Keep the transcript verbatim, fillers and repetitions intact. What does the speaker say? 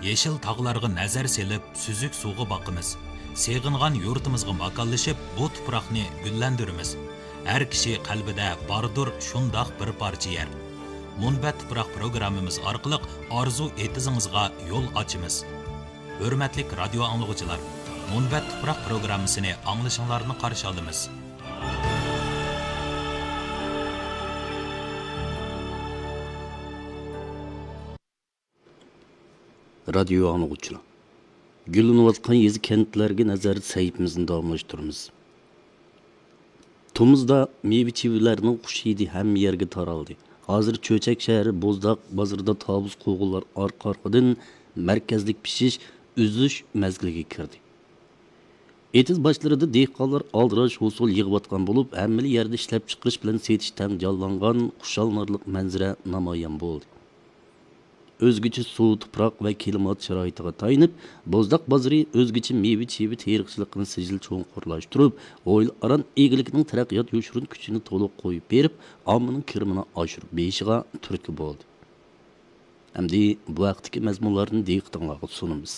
يېشىل تاغلارغا نەزەر سېلىپ، سۈزۈك سۇغا باقىمىز. سېغىنغان يۇرتىمىزغا ماكانلىشىپ، بۇ تۇپراقنى گۈللەندۈرىمىز. ھەر كىشى قەلبىدە باردۇر شۇنداق بىر پارچە يەر. مۇنبەت تۇپراق پروگراممىمىز ئارقىلىق ئارزۇ ئېتىزىڭىزغا يول ئاچىمىز. ھۆرمەتلىك رادىيو ئاڭلىغۇچىلار، مۇنبەت تۇپراق پروگراممىسىنى ئاڭلىشىڭلارنى قارشى ئالىمىز. رادىيو ئاڭلىغۇچىلار، گۈللىنىۋاتقان يېزا كەنتلەرگە نەزەر سەھىپىمىزنى داۋاملاشتۇرىمىز. تومۇزدا مېۋە چېۋىلەرنىڭ خۇش ھىدى ھەممە يەرگە تارالدى. ھازىر چۆچەك شەھىرى بوزداق بازىرىدا تاۋۇز قوغۇنلار ئارقا-ئارقىدىن مەركەزلىك پىشىش، ئۈزۈش مەزگىلىگە كىردى. ئېتىز باشلىرىدا دېھقانلار ئالدىراش ھوسۇل يىغىۋاتقان بولۇپ، ھەممىلا يەردە ئىشلەپچىقىرىش بىلەن سېتىش تەڭ جانلانغان خۇشاللىنارلىق مەنزىرە نامايان بولدى. ئۆزگىچە سۇ، تۇپراق ۋە كىلىمات شارائىتىغا تايىنىپ، بوزداق بازىرى ئۆزگىچە مېۋە-چېۋە تېرىقچىلىقىنى سىجىل چوڭقۇرلاشتۇرۇپ، ھويلا ئاران ئىگىلىكنىڭ تەرەققىيات يوشۇرۇن كۈچىنى تولۇق قويۇپ بېرىپ، ئاممىنىڭ كىرىمىنى ئاشۇرۇپ بېرىشىغا تۈرتكە بولدى. ئەمدى بۇ ھەقتىكى مەزمۇنلارنى دىققىتىڭلارغا سۇنىمىز.